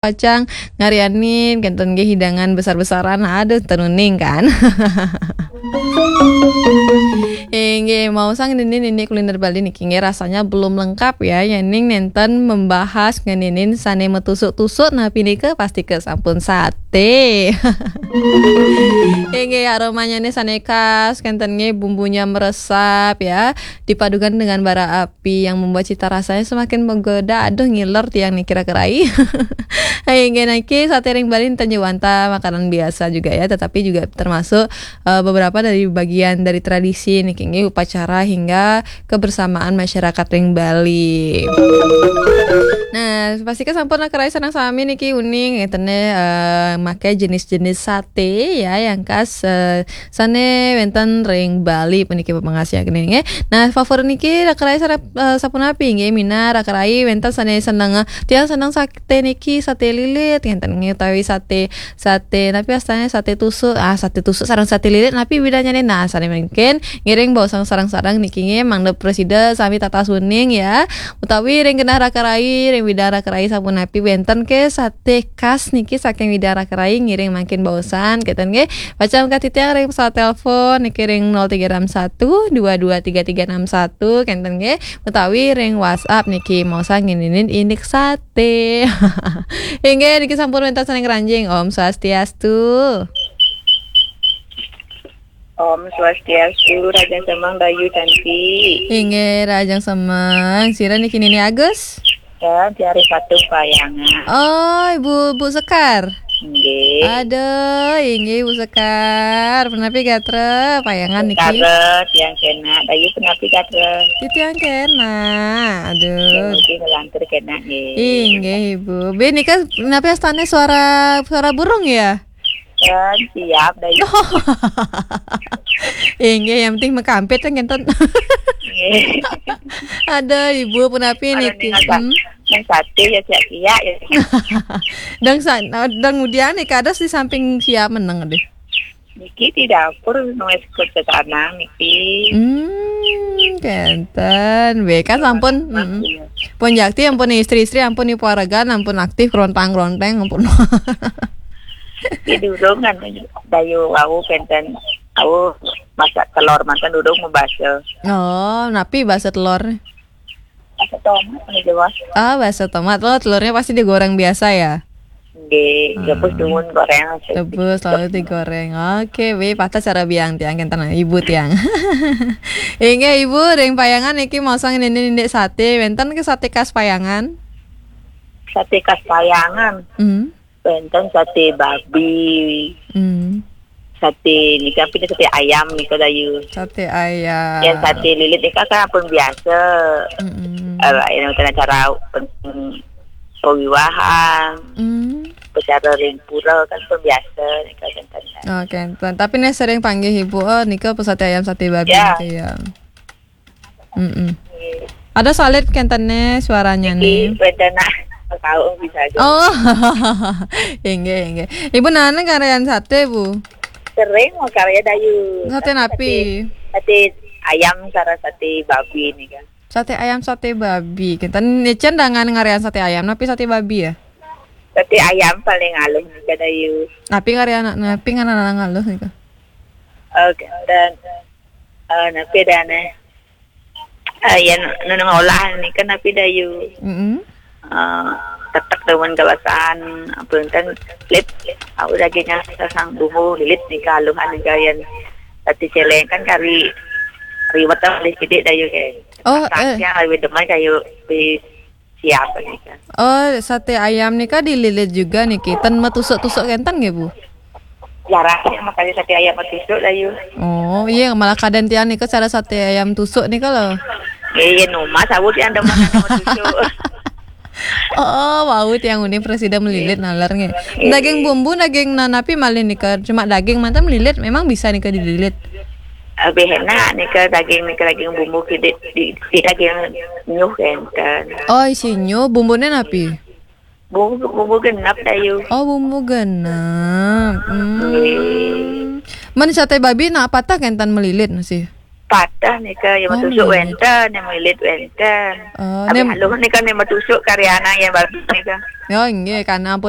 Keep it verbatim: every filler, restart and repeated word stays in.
pacang ngarianin kenten ge hidangan besar-besaran, aduh, teu nuning kan. Inggih, maosang nini-nini kuliner Bali niki nggih rasanya belum lengkap ya, yening nenten membahas ngeninin sane metusuk-tusuk, napi nika pasti ke sampun sate. Inggih, aromanya nih sane khas, kenten nggih bumbunya meresap ya, dipadukan dengan bara api yang membuat cita rasanya semakin menggoda. Aduh, ngiler tiang nih kira-kira. Inggih, niki sate ring Bali enten jawanta makanan biasa juga ya, tetapi juga termasuk eh, beberapa dari bagian dari tradisi niki nggih upacara hingga kebersamaan masyarakat ring Bali. Nah, pasti kan sampun kerai sareng sami niki uning ngeten eh, make jenis-jenis sate ya yang khas eh, sane wenten ring Bali puniki pepangasian nggih. Nah, favorit niki kerai sareng eh, sapunapi nggih minab kerai wenten sane seneng eh, tiang seneng sate niki sate lilit ngenten nggih utawi sate sate, napi astane sate tusuk. Ah, sate tusuk sareng sate lilit, napi bedanya nih? Nah, sane mungkin ngiring baosang sareng-sareng niki nggih, mangda prasida sami tatas uning ya. Utawi ring genah raka rai, ring widang raka rai sapunapi wenten ke sate khas niki saking widang raka rai ngiring mangkin baosang, kenten nggih. Pacang katitiang ring pesawat telepon niki ring nol tiga enam satu dua dua tiga tiga enam satu, kenten nggih. Utawi ring WhatsApp niki maosang ngeninin indik sate. Inggih, niki sampun wenten saking Ranjing. Om Swastiastu. Om Swastiastu, Raja Semang Dayu Cantik. Inggih, Raja Semang. Sira niki Nini Agus? Ya, dari Patung Payangan. Oh, Ibu Bu Sekar. Inggih. Aduh, inggih Ibu Sekar. Punapi gatra, payangan niki. Gatra, tiang kena. Dayu punapi gatra. Titiang kena. Aduh. Yang mungkin ngelantur kena nggih. Inggih, Ibu. Be nika napi astane suara suara burung ya? Ya, siap Dayu. Inggih, yang penting makampit kan kenten. Nggih. Aduh, Ibu punapi niki. Nang sate ya siap-siap ya. Dang sa, dang udian nih kados di samping siap meneng deh. Niki di dapur nulis kerja tanah niki. Hmm, kenten. Be kan sampun, mm. Pun jakti ampun istri-istri ampun ibu aregan ampun aktif kerontang-keronteng ampun. Di durung kan Dayu wau kenten wau masak telur manten durung mau basa. Oh, napi basa telur? Basa tomat nih jelas. Ah, basa tomat. Oh, telurnya pasti digoreng biasa ya? Nggih, hmm. Rebus dumun goreng. Rebus lalu digoreng. Oke, be patah cara biang tiang kenten ibu tiang. Inggih ibu ring payangan niki maosang nini indik sate, wenten ke sate khas payangan? Sate khas payangan. Hmm. Wenten sate babi. Hmm. Sate nika pina sate ayam nika Dayu. Sate ayam. Yang sate lilit nika kan ampun biasa. Mm-mm. Eh, yang kena cara pen- pewiwahan. Hmm. Pecara ring pura kan pun biasa nika kan. Oke, enten. Tapi nih sering panggih ibu, oh nika apa sate ayam sate babi ya. Nika ya. Mm-mm. Ada salit kentene suaranya nih. Wenten nak tahu bisa aja. Oh, inggih inggih. Ibu nana karyan sate bu? Sering mau karya Dayu. Sate napi? Sate ayam sareng sate babi nih kan. Sate ayam sate babi. Kenten nicen dengan ngarian sate ayam napi sate babi ya? Sate ayam paling aluh nih kan Dayu. Napi ngarian napi ngaran aluh nih kan? Oke dan eh, napi dan eh. Eh, ya nu nu ngolah nih kan napi Dayu. Mm-mm. Eh, tetek demen gawasan apa kan lit. Aku dagingnya sasang bumbu lilit nih kaluhan nih kalian. Tadi celeng kan kari riwet oleh sidik Dayu kayak. Oh, eh. Yang lebih demen kayu di siap nih kan. Oh, sate ayam nika dililit juga niki. Ten metusuk-tusuk kenten nggih, Bu? Jarang sih makanya sate ayam metusuk Dayu. Oh, iya malah kadang tiang nika cara sate ayam tusuk nika loh. Iya, iya, nu mas aku tiang demen anu metusuk. Oh, wau tiang uning presida melilit nalar nggih. Iya. Daging bumbu, daging nanapi malih nika. Cuma daging manten melilit memang bisa nika dililit. Lebih enak nika daging nika daging bumbu ki di, di, di daging nyuh kenten. Oh, isi nyuh, bumbune napi? Bumbu bumbu genep Dayu. Oh, bumbu genep. Hmm. Men sate babi nak patah kenten melilit masih. patah nika, ya, oh, metusuk nggih, wénten, ya, melilit wénten. Oh, tapi nem- Halus nika, nek metusuk karyané ya, bagus nika. Ya, nggih, karena pun